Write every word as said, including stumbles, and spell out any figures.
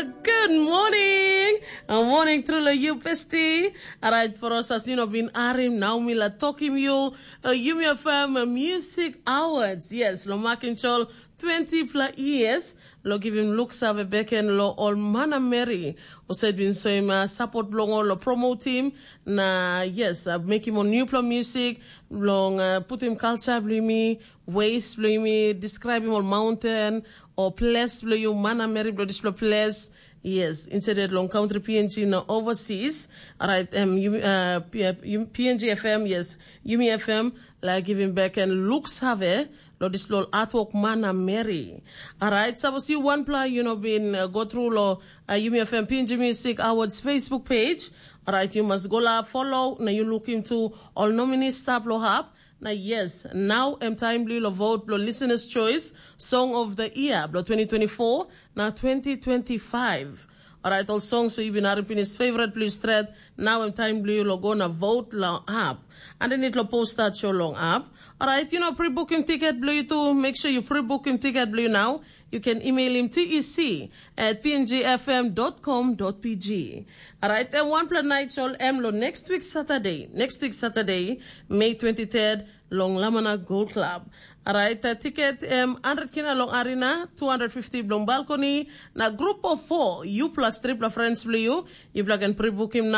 Good morning. Uh, morning through la you bestie. Alright, for us as you know been arim now mi la talking you. Uh, Yumi F M Music Awards. Yes, lo makin chol twenty plus years. Lo giving looks have a beken lo ol mana Mary. Usaid been soim uh, support blong ol lo promote him. Na yes, uh, make him on new play music. Long uh, put him culture blimi, ways blimi, describe him all mountain or place blo you mana Mary blo dispela place. Yes, instead long country P N G na overseas. Alright, um, you, uh, P- uh, you, P N G F M, yes, Yumi F M, like giving back and looks have lo dispela artwork mana Mary. Alright, suppose you one pla you know been uh, go through lo uh, Yumi F M P N G Music Awards Facebook page. Alright, you must go la follow. Na you look into all nominees stap lo hap. Na yes, now em time blue lo vote blo listeners choice song of the year blo twenty twenty-four na twenty twenty-five. Alright, all songs so you been harim finish favorite blue stret. Now em time blue lo go na vote lo app. And then it lo post that show long app. Alright, you know pre-booking ticket blue too. Make sure you pre-booking ticket blue now. You can email him T E C at P N G F M dot com dot P G. Alright, and one plan night show em lo next week Saturday. Next week Saturday, May twenty-third, long Lamana Gold Club. Alright, uh, ticket um, one hundred kina long arena, two hundred fifty long balcony. Na group of four, you plus triple friends blue you. You plug and pre-book him now.